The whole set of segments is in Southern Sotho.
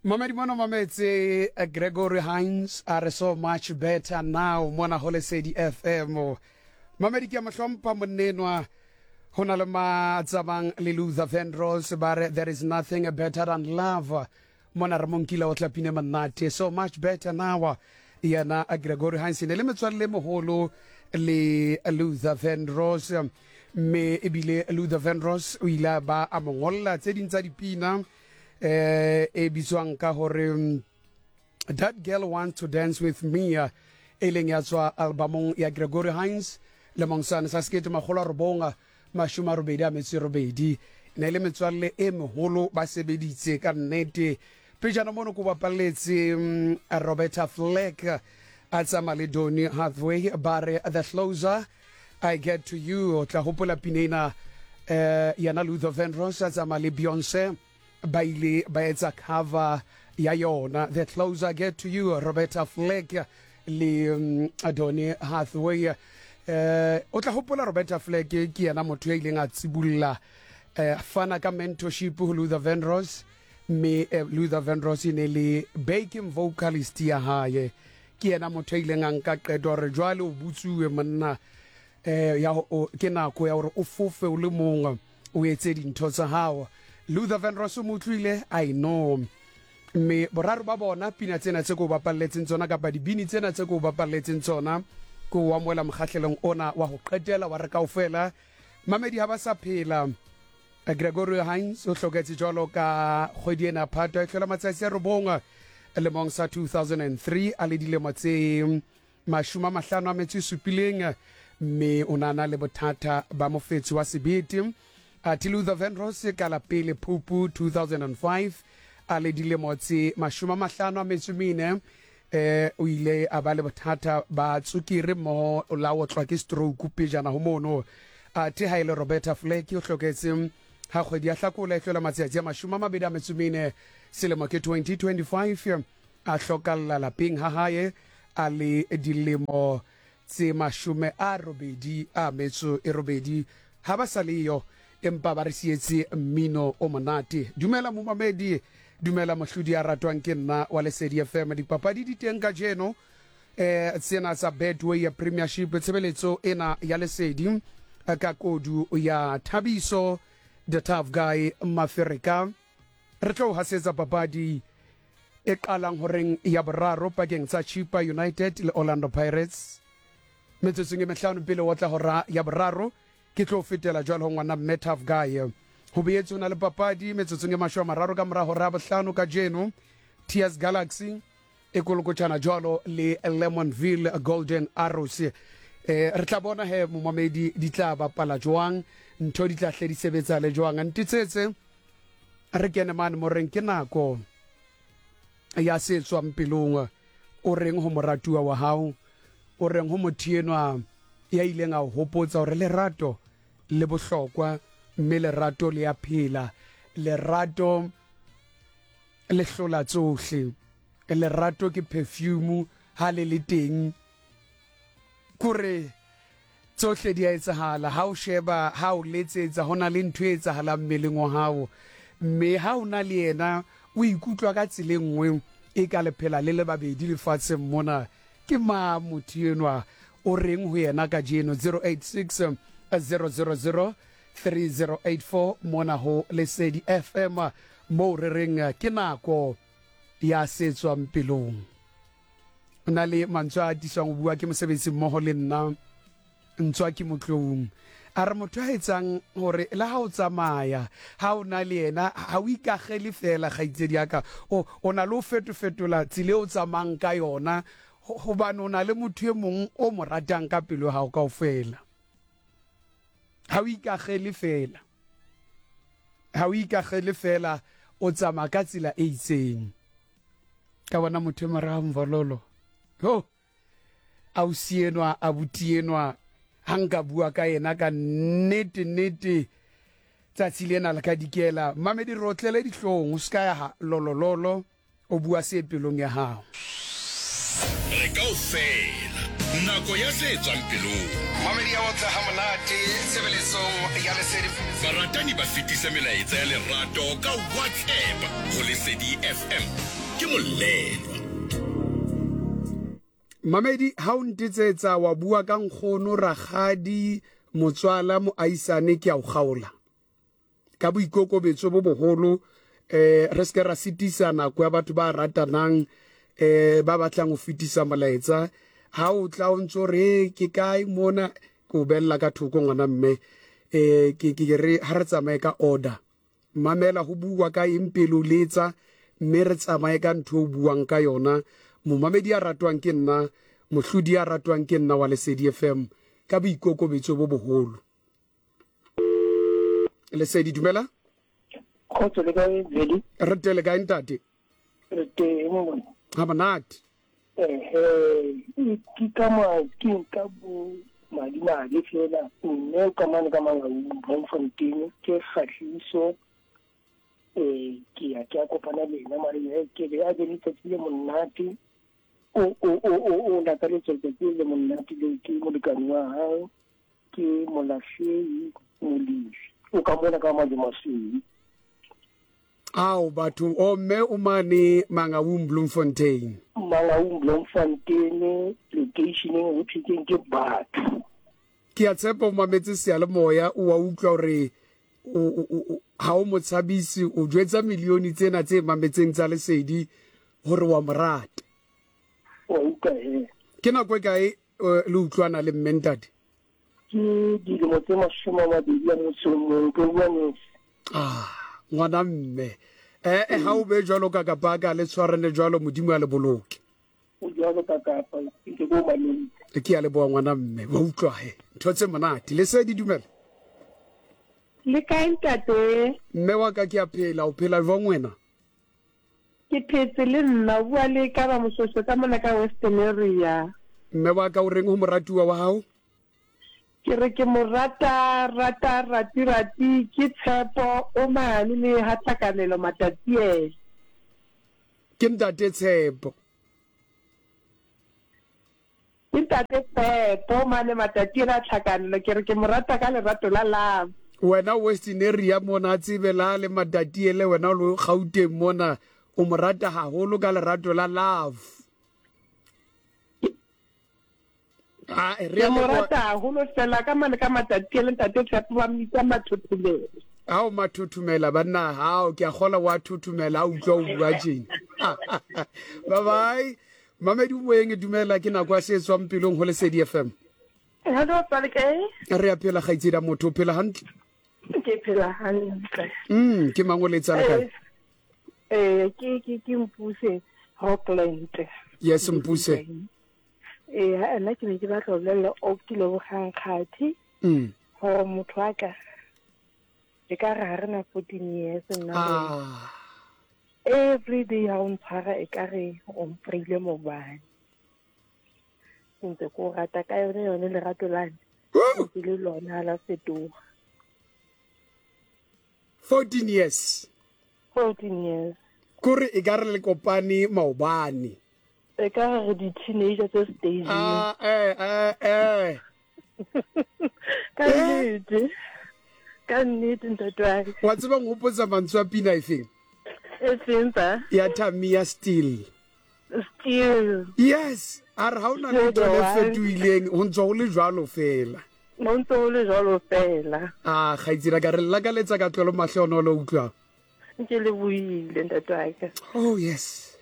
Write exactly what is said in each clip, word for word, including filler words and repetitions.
Mamedi mona mametse eh, Gregory Hines a re so much better now mona ho Lesedi F M. Mamedi ke a mo hlompha monnenwa ho na le Matsamang le Luther Vandross ba re there is nothing better than love. Mona re monkile o tla pine monate so much better now. Yena Gregory Hines ne le metswalle moholo le Luther Vandross, mme ebile Luther Vandross o ile a ba a mo ngolla tse ding tsa dipina eh e bitswang ka hore That Girl Wants to Dance With Me, e leng ya tswa albumong ya Gregory Hines lemong sane sa sekete makgolo a robong mashome a robedi a metso e robedi. Ne le metswalle e meholo ba sebeditse ka nnete. Pejana mono ko bapalletse Roberta Flack a tsamaya le Donny Hathaway ba re The Closer I Get to You. O tla hopola pina ena eh yana Luther Vandross a tsamaya le Beyonce ba ile ba etsa cover ya yona The Closer I Get to You, Roberta Flack le um, Donny Hathaway. Eh o tla hopola Roberta Flack ke yena motho ya ileng a tsibulla eh fana ka mentorship ho Luther Vandross, mme eh, Luther Vandross e ne le backing vocalist ya hae. Ke yena motho ya ileng a nka qeto hore jwale o butsuwe monna eh ya ke nako ya hore o fofe o le mong o etse dintho tsa hao. Luther Vandross o mo utlwile, I know. Mme boraro ba bona pina tsena tse ko bapalletseng tsona kapa dibini tsena tse ko bapalletseng tsona ko wa moela mokgahlelong ona wa ho qetela wa re kaofela. Mamedi ha ba sa phela. Gregory Hines o hloketse jwalo ka kgwedi ena Phato e hlola matsatsi a robong lemong sa two thousand three a le dilemo tse mashome a mahlano a metso e supileng, mme o na na le bothata ba mofetsi wa sebete. Athe Luther Vandross ka la pele Phupu two thousand five a le dilemo tse mashome a mahlano a metso e mene, eh o ile a ba le bothata ba tsukiri mmoho la otlwa ke stroke pejana ho mono. Athe ha ile Roberta Flack o hloketse ha kgwedi ya Hlakola e hlola matsatsi a mashome a mabedi a metso e mene selemo ke twenty twenty-five, a hlokalla lapeng ha hae a le dilemo tse mashome a robedi a metso e robedi. Ha ba sa leyo empa ba re sietse mmino o monate. Dumela momamedi, dumela mohlodi a ratwang ke nna wa Lesedi F M. Dipapadi di teng kajeno eh tsena tsa Betway ya Premiership, tshebeletso ena ya Lesedi ka kodu ya Thabiso the Tough Guy Mafereka. Re tlo hasetsa papadi e qalang horeng ya boraro pakeng tsa Chippa United le Orlando Pirates. Metsotsong e mehlano pele wa tla hora ya boraro ke tlo fetela jwalo ho ngwana mme Tough Guy. Ho boetse ho na le papadi metsotsong e mashome a mararo ka mora hora ya bohlano kajeno, T S Galaxy e kolokotjana jwalo le Lemonville Golden Arrows. Eh re tla bona he momamedi di tla bapala jwang, ntho di tla hle di sebetsa le jwang. Ntitsetse re kene mane mo reng ke nako ya se tswang pelong. O reng ho moratuwa wa hao, o reng ho motho enwa ya ileng a hopotsa hore lerato le bohlokwa, mme lerato le ya phela, lerato le hlola tsohle, lerato ke perfume ha le le teng kore tsohle di a etsahala. Ha o sheba, ha o letsetsa, hona le ntho e etsahalang mmeleng wa hao, mme ha o na le yena o ikutlwa ka tsela e nngwe e ka le phela le le babedi lefatsheng mona. Ke ma motho enwa o reng ho yena kajeno? Zero eight six zero zero zero three zero eight four mona ho Lesedi F M mo re reng ke nako ya se tswang pelong. O na le mantswe a atisang ho bua ke mosebetsi mmoho le nna Ntswa ke Motloung. A re motho a etsang hore le ha o tsamaya, ha o na le yena, ha o ikagele fela kgaitsedi ya ka, o o na le ho fetofetola tsela e o tsamayang ka yona, hobane o na le motho e mong o mo ratang ka pelo ya hao kaofela. Ha o ikagele fela, ha o ikagele fela, o tsamaya ka tsela e itseng. Ka bona motho e morao Mvololo, ho ausi enwa, abuti enwa, ha nka bua ka yena ka nnete nnete tsatsi lena le ka dikela. Mamedi re otlele dihlong, o ska ya lolololo, o bua se pelong ya hao. Re kaofela Nako ya se tswang pelong. Mamedi ya otla ha monate tshebeletsong ya Lesedi. Baratani ba fetisa melaetsa ya lerato ka WhatsApp ho Lesedi F M. Ke molelwa. Mamedi, ha o ntetsetsa wa bua ka nkgono, rakgadi, motswala, moaisane, ke a o kgaola. Ka boikokobetso bo boholo, eh re se ke ra sitisa nako ya batho ba ratanang, eh ba batlang ho fetisa molaetsa. Ha o tla o ntso re ke kae mona, ke o bella ka thoko ngwana mme, eh ke ke re ha re tsamaye ka order. Mamela ho bua ka eng pele o letsa, mme re tsamaye ka ntho o buang ka yona. Momamedi ya ratwang ke nna, mohlodi ya ratwang ke nna wa Lesedi F M, ka boikokobetso bo boholo. Lesedi, dumela. Kgotso le kae, Veli? Re teng le kae, ntate? Re teng mona. Ha monate. Ehe, ke ka ma ke ka bo madimabe fela, mme o ka mane ka Mangaung, Bloemfontein, ke kgahliso. Eh, ke ya ke a kopana le ena, mare e ke be a be le tsatsi le monate. O o o o o lakaletse letsatsi le monate le ke molekane wa hao, ke Molahlei Molefi. O ka mona ka Madimasweu. Ao batho, o mme o mane Mangaung, Bloemfontein. Mangaung, Bloemfontein, locationeng ho thweng ke batho. Ke a tshepa o mametse seyalemoya, o wa utlwa hore o ha o mo tshabise, o jwetsa milione tsena tse mametseng tsa Lesedi hore wa mo rata. Wa utlwa he. Ke nako e kae le utlwana le mme ntate? Ke dilemo tse mashome a mabedi a motso o mong, ke bua nnete. Ah, ngwana mme. Eh eh ha o be jwalo ka kapa le tshwarane jwalo, Modimo a le boloke. O jwalo ka kapa, ke go maleng. Ke a leboha ngwana mme, wa utlwa he. Ntho tse monate. Lesedi, dumela. Le kae ntate? Mme wa ka ke a phela, o phela jwang wena? Ke phetse le nna, o bua le ka ba Moshoeshoe ka mona ka Western area. Mme wa ka o reng ho moratuwa wa hao? Ke re ke mo rata, rata, rati, rati, ke Tshepo o mane le ha Tlhakanelo Matatiele. Ke ntate Tshepo. Ke ntate Tshepo mane Matatiele a Tlhakanelo, ke re ke mo rata ka lerato la love. Wena Western area mona tsebe la le Matatiele, wena o le Gauteng mona, o mo rata haholo ka lerato la love. Ah, re mo rata haholo fela ka mane ka Matatiele, ntate Tshepo ba mmitsa Mathuthumela. Ao Mathuthumela banna, hao ke a kgola wa thuthumela, a utlwa o bua tjena. Bye bye. Mamedi moyeng, dumela, ke nako ya se tswang pelong ho Lesedi F M. Hello, tswale kae? Re a phela kgaitsedi ya motho, o phela hantle? Ke phela hantle. Mm, ke mang o letsa le kae? Eh, ke ke ke Mpuse Rockland. Yes, Mpuse. Eh, nna ke ne ke batla ho bolella o ke lebogang kgathi. Mm. Hore motho wa ka e ka re ha re na fourteen years nna. Ah. Every day ha o ntshwara e ka re o mpreile mobane. Ntse ko rata ka yone yone lerato lane. Ke le lona la fetoha. fourteen years. fourteen years. Kore e ka re le kopane maobane. E ka re di teenager tse stage. Ah, eh eh eh. Ka nnete. Ka nnete ntate wa ka. Wa tseba nghopotsa mantswe a pina efeng? E feng pa? Ya Tamia Steel. Steel. Yes, a re ha ona letho le fetohileng, ho ntso ho le jwalo fela. Ho ntso ho le jwalo fela. Ah, kgaitsedi ka re lakaletsa ka tlolo mahlonolo utlwa. Ke le buile ntate wa ka. Oh yes.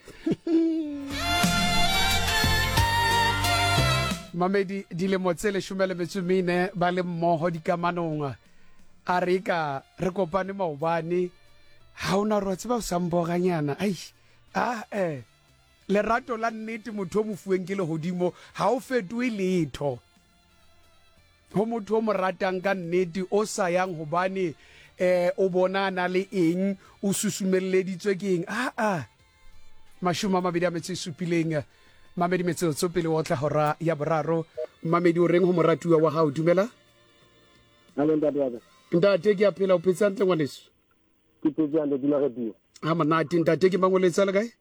Mamedi, dilemo tse leshome le metso mene ba le mmoho dikamanong. A re ka re kopane maobane, ha ona re tseba o sa mboganyana. Ai, ah eh. Lerato la nnete motho o mofuweng ke lehodimo ha o fetohe letho. Ho motho o mo ratang ka nnete o sa yang hobane eh o bona na le eng, o susumelleditswe ke eng. Ah ah. Mashome a mabedi a metso e supileng, mamedi metsotso pele o tla hora ya boraro. Mamedi o reng ho moratuwa wa hao? Dumela. Hallo ntate wa ka. Ntate ke a phela, o phetse hantle ngwaneso? Ke phetse hantle, dula re bua. Ha monate ntate, ke mang o letsa le kae?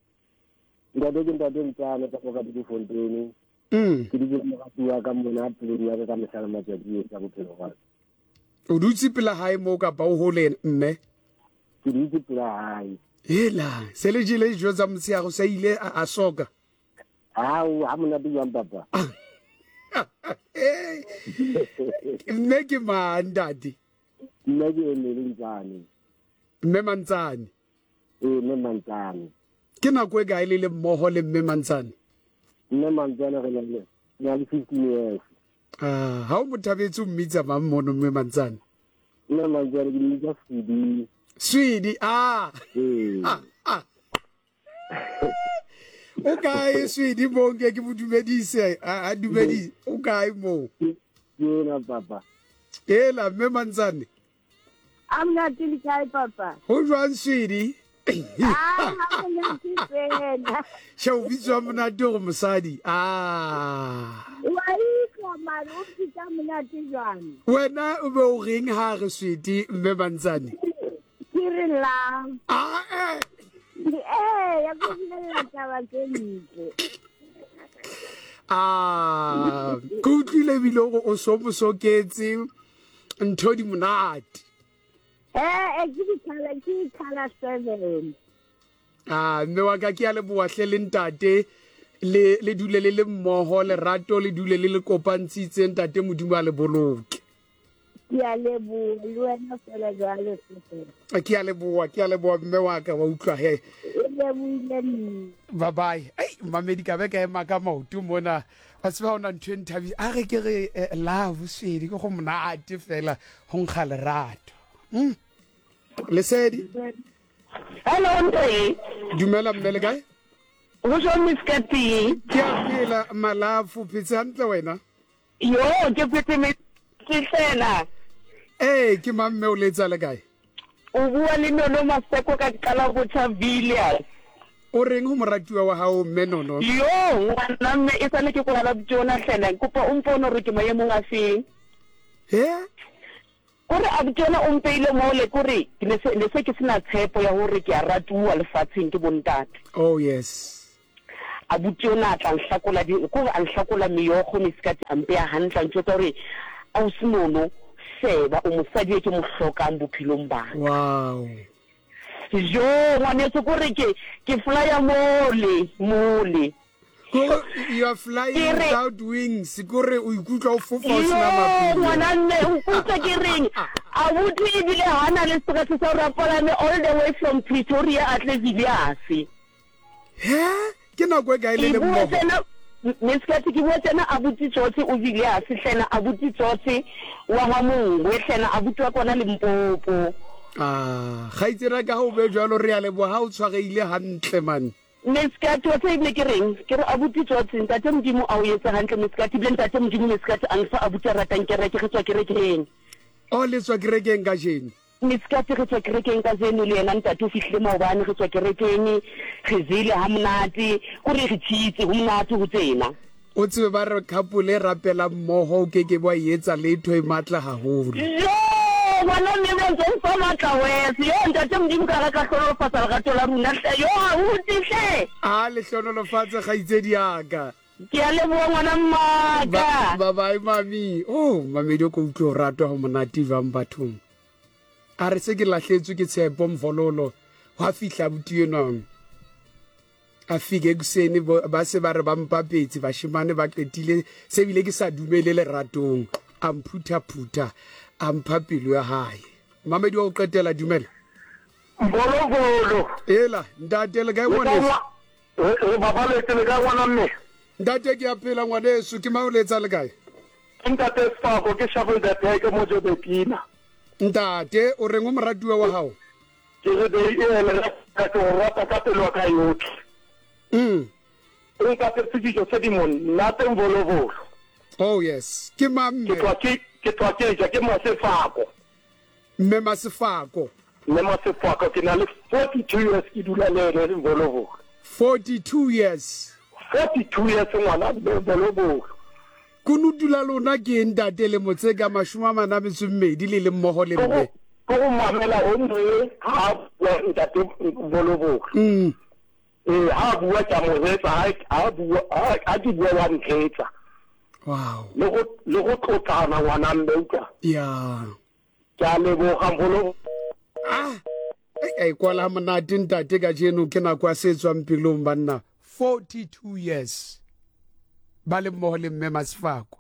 Ntate ke ntate Ntsane ka Bloemfontein. Mm. Ke dutse le moratuwa wa ka mona pelong ya ka ka mehla le matsatsi ohle a bophelo ba ka. O dutse pela hae moo kapa o hole mme? Ke dutse pela hae. Hela, se le jele dijo tsa motshehare o sa ile a, a soka? Hao, ha monate jwang papa? Mme ke mang ntate? Mme ke Emily Ntsane. Mme Mantsane? Ee, mme Mantsane. Ke nako e kae le le mmoho le mme Mantsane? Mme Mantsane re na le, na le fifteen years. Ah, ha o mo thabetse o mmitsa mang mono mme Mantsane? Mme Mantsane ke mmitsa Swedi. Swedi, ah. Ee. Ah, ah. O kae Swedi mo nke ke mo dumedise, a, a dumedise. O kae mo? Ke ena papa. Ela mme Mantsane. A monate le kae papa? Ho jwang Swedi? Ah, ha monate fela. She o bitswa monate hore mosadi. Ah. Wa utlwa mare o bitsa monate jwang? Wena o be o reng ha re Swedi mme Mantsane? Ke re la. Ah, eh. Eh, ya go bolella taba tse ntle. Ah, ke utlwile ebile hore o so mo soketse ntho di monate. Eh, eh, ke di-colour, ke di-colour seven. Ah, mme wa ka ke a leboha hle le ntate, le, le dule le le mmoho, lerato le dule le le kopantshitse, ntate Modimo a le boloke. Ke a leboha, le wena fela jwalo fela. Ke a leboha, ke a leboha mme wa ka, wa utlwa he. E lebohile nna. Bye bye. Ai, mamedi ka be ka ema ka maoto mona. Wa tseba hona ntho e nthabisa. A re ke re, eh, love Swedi, ke go monate fela ho nkga lerato. Mm. Lesedi. Hello ntate. Dumela mme le kae? Ho jwang Miss Kati? Ke a phela malafu, phetse hantle wena? Yo, ke phetse me fela. Eh, ke mang mme o letsa le kae? O bua le Nono Maseko ka qala go tjha Villiers. O reng ho moratuwa wa hao mme Nono? Yo, ngwana mme e sale ke go la bjona hlena, kopa o mpone hore ke maemong a feng. He? Kore a bjona o mpeile mole kore ke ne se ne se ke sena tshepo ya hore ke a ratuwa lefatsheng ke bontate. Oh yes. A bjona a tla nhlakola di kore a nhlakola meokgo Miss Kati a mpeya hantle a ntjwetsa hore ausi Nono sheba o mosadi e ke mo hlokang bophelong ba ka. Wow. Jo, ngwaneso kore ke ke flya mole mole. Kore you are flying Ke re without wings, kore o ikutlwa o fofa o sena Yo, mapheo. ngwana mme o kutlwa ke reng? Abuti ebile ha na le stress sa hore a palame all the way from Pretoria a tle Villiers. He? Ke nako e kae le le Ke bua mmoho? tjena, Miss Kati, ke bua tjena abuti Tsotsi o Villiers hlena, abuti Tsotsi wa ha mongwe hlena, abuti wa kona Limpopo. Ah, kgaitsedi ka ha o be jwalo re a leboha ha o tshwarehile hantle man. Miss Kati, wa tseba ebile ke reng? Ke re abuti Tsotsi, ntate Modimo a o etse hantle Miss Kati, ebile ntate Modimo Miss Kati a nfa abuti a ratang kereke, re tswa kerekeng. O le tswa kerekeng kajeno? Miss Kati, re tswa kerekeng kajeno le yena ntate o fihlile maobane, re tswa kerekeng, re jele ha monate, kore re tshitse ho monate ho tsena. O tsebe ba re couple e rapela mmoho o keke wa e etsa letho e matla haholo. Yo, ngwana mme ba ntse mfa matla wese. Yo, ntate Modimo ka re ka hlonolofatsa lerato la rona hle. Yo, abuti hle. A le hlonolofatse kgaitsedi ya ka. Ke a leboha ngwana mmaka. Ba bye mami. Oh, mamedi o ko utlwe o ratwa ho monate jwang bathong. A re se ke lahletswe ke tshepo mvololo. Hwa fihla abuti enwa. A fike ekuseni ba se ba re ba mpapetse bashemane ba qetile se bile ke sa dumele leratong. A mphuthaphutha, a mpha pelo ya hae. Mamedi wa ho qetela, dumela. Mbolobolo. Ela, ntate le kae ngwaneso? Re babaletse le kae ngwana mme? Ntate ke a phela ngwaneso, ke mang o letsa le kae? Ntate Sefako, ke Shuffle the Pack mo Joburgina. Ntate, o reng o moratuwa wa hao? Ke re be e le ka ke o rata ka pelo ya ka yotlhe. Mm. O nkapetse dijo tse di monate mbolobolo. Oh yes. Ke mang mme? Ke tloha ke, ke tloha ke ja, ke Masefako. Mme Masefako. Mme Masefako, ke na le forty-two years ke dula le ene mbolobolo. forty-two years. forty-two years ngwana mme mbolobolo. Kunutu la lona ke ntate le motse ka mashome a mane a metso e mmedi le le mmoho le mme. Ke go mamela o mme ha bua ntate mbolobolo. Mm. Ee, ha a bua ke a mo reetsa, ha ha bua ha ke bua wa ntheetsa. Wow. Le go le go tlotlana ngwana mme utlwa. Ya. Ke a leboga mholo. Ah. Ei kwala monate ntate kajeno ke nako ya se tswang pelong banna. forty-two years. Ba le mmoho le mme Masefako.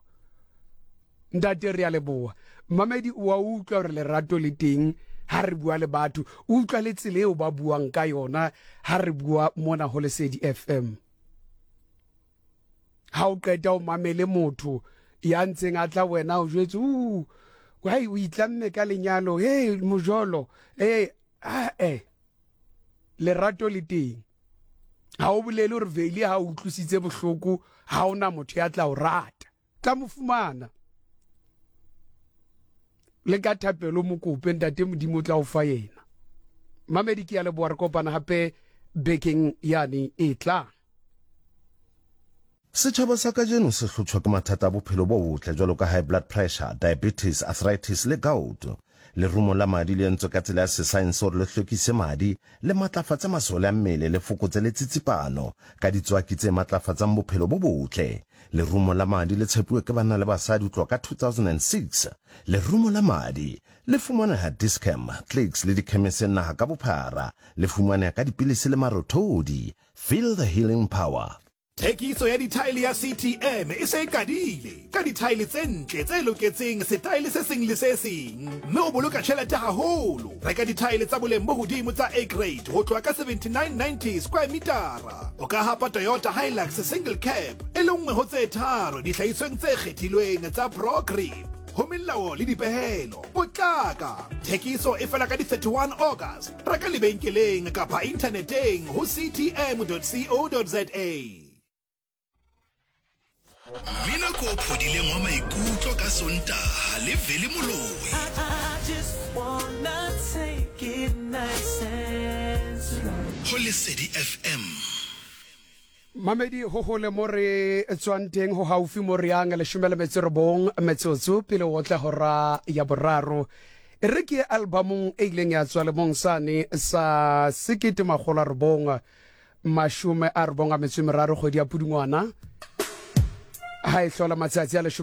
Ntate re a leboha. Mamedi o a utlwa hore lerato le teng ha re bua le batho, o utlwa le tsela eo ba buang ka yona ha re bua mona ho Lesedi F M. Ha o qeta o mamele motho ya ntseng a tla wena o jwetse u why o itlamme ka lenyalo, hey mojolo, eh ah eh lerato le teng. Ha o bolele hore Veli ha o utlwisitse bohloko, ha ona motho ya tla o rata, tla mo fumana. Le ka thapelo mokope ntate Modimo o tla o fa yena. Mamedi ke ya leboha, re kopana hape bekeng yane e tlang. Setjhaba sa kajeno se hlotshwa ke mathata a bophelo bo botle jwalo ka high blood pressure, diabetes, arthritis le gout. Lerumo la madi le entswe ka tsela ya sesaense hore le hlwekise madi, le matlafatse masole a mmele, le fokotse le tsitsipano ka ditswaki tse matlafatsang bophelo bo botle. Lerumo la madi le tshepuwe ke banna le basadi ho tloha ka two thousand six. Lerumo la madi le fumaneha Dis-Chem, Clicks le dikhemeseng naha ka bophara. Le fumaneha ka dipilisi le marothodi. Feel the healing power. Thekiso ya dithaele ya C T M e se e qadile ka dithaele tse ntle tse loketseng setaele se seng le se seng, mme o boloka tjhelete haholo. Reka dithaele tsa boleng bo hodimo tsa A grade ho tloha ka seventy-nine ninety square metara. O ka hapa Toyota Hilux single cab e le nngwe ho tse tharo dihlahisweng tse kgethilweng tsa ProGrip. Ho melao le dipehelo, potlaka. Thekiso e fela ka di thirty-one August. Reka lebenkeleng kapa inthaneteng ho c t m dot co dot za. Mmino ko phodileng wa maikutlo ka Sontaha le Veli Moloi. Ho Lesedi F M. Mamedi ho hole mo re tswang teng ho haufi mo re yang leshome le metso e robong metsotso pele o tla hora ya boraro. E re ke albumong e ileng ya tswa lemong sane sa sekete makgolo a robong mashome a robong a metso e meraro kgwedi ya Pudungwana. Ha e hlola matsatsi a leshome